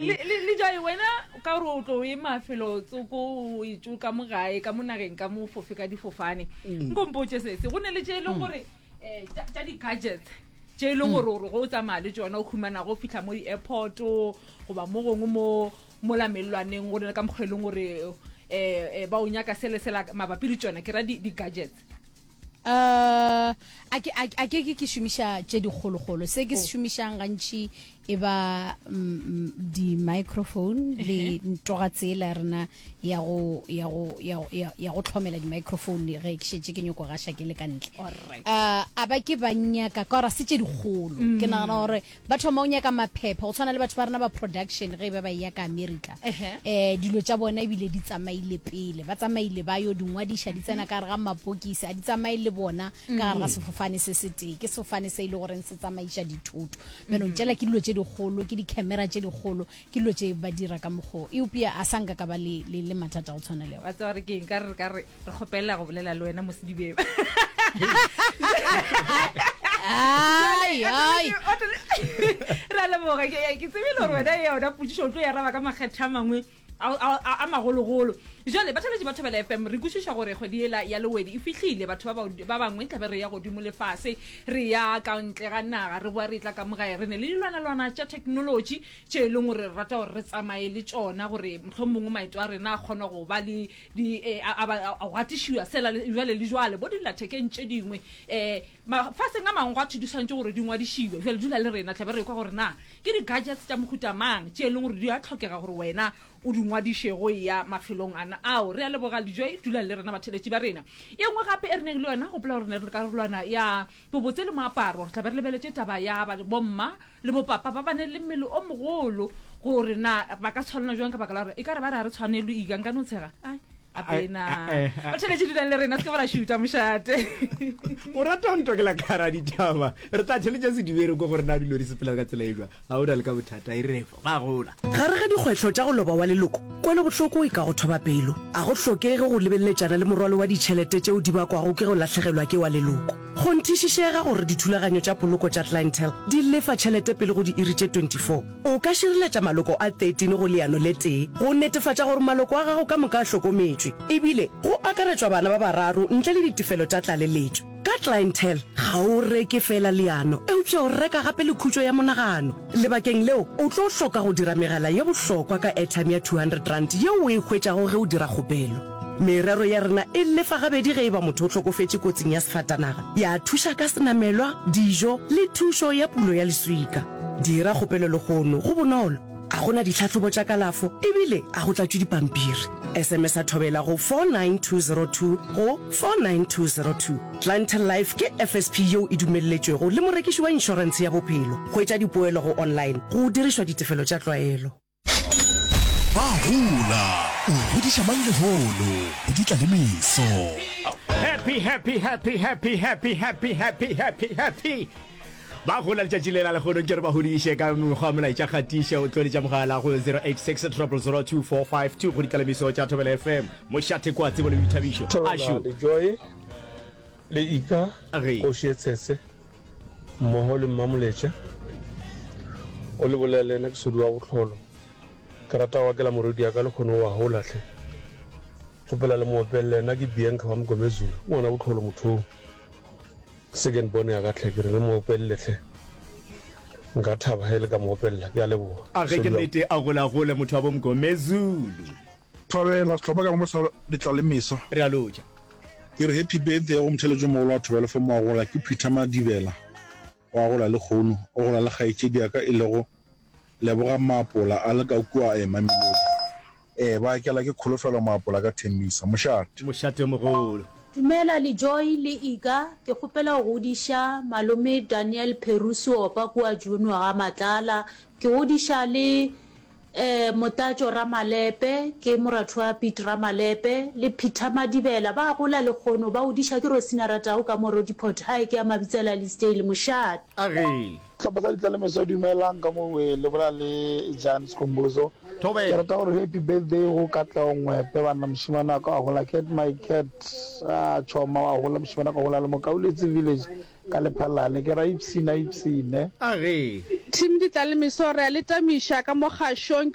Le, le, le Joy, wena ka gore o tlo e mafelo tsoko o etšo ka mo gae, ka mo nageng, ka mo fofe ka difofane. Mm. Nko mpotše sese, go ne le tše e leng gore eh, tša tša di-gadgets tše e leng gore gore go o tsamaya le tšona o humana go fihla mo di-airport goba mo gongwe mo mola mellwaneng go ne le ka mokgwa e leng gore eh, eh, ba o nyaka sele sela mabapi le tšona ke ra di-gadgets. Uh, a ke, a, a ke ke ke šomiša tše dikgolokgolo. Se ke se Oh. šomišang gantši e ba mm, mm, di-microphone le ntoga tsela ya rena ya go, ya go, ya, go- ya, ya go tlhomela di-microphone ge ke šetše ke nyoko gaša ke le ka ntle. Alright. Uh, a ba ke ba nyaka ka gore ga se tše dikgolo. Ke nagana gore ba thoma go nyaka maphepha go tshwana le batho ba rena ba production ge e ba ba eya ka America. Ehe. Um dilo tša bona ebile di tsamaile pele, ba tsamaile ba yo di ngwadiša, di tsena ka gare ga mapokisi, a di tsamaye le bona ka gare ga sefofane se setee. Ke sefofane se e le goreng se tsamaiša dithoto. Bjanong tšela ke dilo tše dikgolo, ke di-camera tše dikgolo, ke dilo tše ba dira ka mokgwa o. Eupša a sa nka ka ba le, le, le mathata a go tshwana leo. Wa tseba gore ke eng? Ka re re ka re re kgopela go bolela le wena mo sedibeng. Ai, ai. Re a leboga. Ke, ke tsebile gore wena yona potšišo o tlo e araba ka makgethe a mangwe a, a, a, a magologolo. Jwale batheeletši ba Thobela FM, re kwešiša gore kgwedi yela ya Lewedi e fihlile. Batho ba, ba bangwe tla be re ya godimo le fase, re ya ka ntle ga naga, re boa re etla ka mo gae. Re ne le dilwanalwana tša theknolotši tše e leng gore re rata gore re tsamaye le tšona gore mohlomongwe maeto a rena a kgone go ba le di eh, a, a, a, go gatišiwa sela le jwale le jwale bo dillathekeng tše dingwe um mafaseng a mangwe gwa thwe di swanetše gore di ngwadišiwe. Jwale dula le rena tlabe re kwa gore na ke di-gadgets tša mohuta mang tše e leng gore di a tlhokega gore wena o di ngwadiše go eya mafelong ana ao. Re a leboga Lejoe, dulang le rena batheeletši ba rena. E nngwe gape e re neng le yona, gopola gore ne re le karolwana ya bobotse le moaparo, re tla be re lebeletše taba ya bomma le bopapa ba ba ne le mmele o mogolo gore na ba ka tshwanela jwang ka baka la gore e ka re ba re ga re tshwanelwe ika nka no tshega ai apena ba tšheletse dulang le rena se ke ba ra šuta mošate o rata go ntokela kara ditaba re tla theletša sedibere ko gore na dilo di sepela ka tsela e jwa ga o na le ka bothata e re ba gola Gare ga dikgwetlho tša go loba wa leloko, kwelobohloko e ka go thoba pelo. A go hlokege go lebeleletšana le morwalo wa ditšhelete tšeo di bakwago ke go lahlegelwa ke wa leloko. Kgonthišišega gore dithulaganyo tša poloko tša Clientele di lefa tšhelete pele go diiri tše 24. O ka šireletša maloko a 13 go leano le tee go netefatša gore maloko a gago ka moka a hlokometšwe, ebile go akaretšwa bana ba bararo ntle le ditefelo tša tlaleletšo. Ka Clientele, ga o reke feela leano, eupša o reka gape le khutšo ya monagano. Lebakeng leo, o tlo hloka go dira megala ye bohlokwa ka airtime ya R200 yeo o e hwetšago ge o dira kgopelo. Merero ya rena e lefa gabedi ge e ba motho o hlokofetše kotsing ya sefatanaga, ya thuša ka senamelwa, dijo le thušo ya pulo ya leswika. Dira kgopelo lehono, go bonolo, ga go na ditlhahlobo tša kalafo ebile ga go tlatšwe dipampiri. SMS-a Thobela go 49202 go 49202. Clientele Life ke FSP yeo e dumelletšwego le morekiši wa inšorentshe ya bophelo. Hwetša dipoelo go online go dirišwa ditefelo tša tlwaelo. Ba gola, o godiša mang lehono, go di tla le meso. Happy happy happy happy happy happy happy happy happy ba gola letšatši le la lehono ke re ba godiše ka mekgwa molaetša kgatiše o tloletša mogala go 086 000 2452 go ditlalemiso tša thobela fm mošate kwa tsebo le boithabišo Thobela ašo le Joy le Ika Ge. Kgoši ye Tshese mmogo le Mmamoletša o le bolela le yena ke Sodi wa Bohlolo ke rata go akela morwedi ya ka lekgono wa gola hle kgopela le mo opelele yena ke Bianca wa Mgomezulu ke ngwana Bohlolo motho o second born ya ka hle ke re le mo opelele hle nka thaba ge le ka mo opelela ke a leboga A ge ke Sodi wa nnete a golagole motho wa bo Mgomezulu. Thobela, sehlopha ka moka sa Letlalemeso. Re a lotša. Ke re happy birthday go motheeletši o mogolo wa Thobela FM wa gola ke Peter Madibela wa gola lekgono o gola le kgaetšedi ya ka e lego Lebogang Maapola a le ka kua Mamelodi ee ba akela ke Kholofelo Maapola ka Thembisa. Mošate. Mošate o mogolo. Dumela le Joy le Ika, ke kgopela go godiša malome Daniel Pheru Seopa kua June ga Matlala. Ke godiša le Ee, Motatšo Ramalepe, ke moratho wa Piet Ramalepe, le Peter Madibela ba gola lekgono, ba odiša ke Rosina Ratau ka mo Roodepoort High ke ya Mabitsela Leasdale, Mošate. A re. Sehlopha sa Ditlalemeso dumelang ka mo we le bolela le Jan Skhumbuzo. Ke Thobela. rata gore happy birthday go Katlego Ngwepe banna mošemane wa ka wa gola cat my cat ah choma wa gola mošemane wa ka gola le mo Kauletse village Ka Lephalale ke ra ipshina ipshine. A re. Team Ditlalemeso re a le tamiša ka mo kgašong.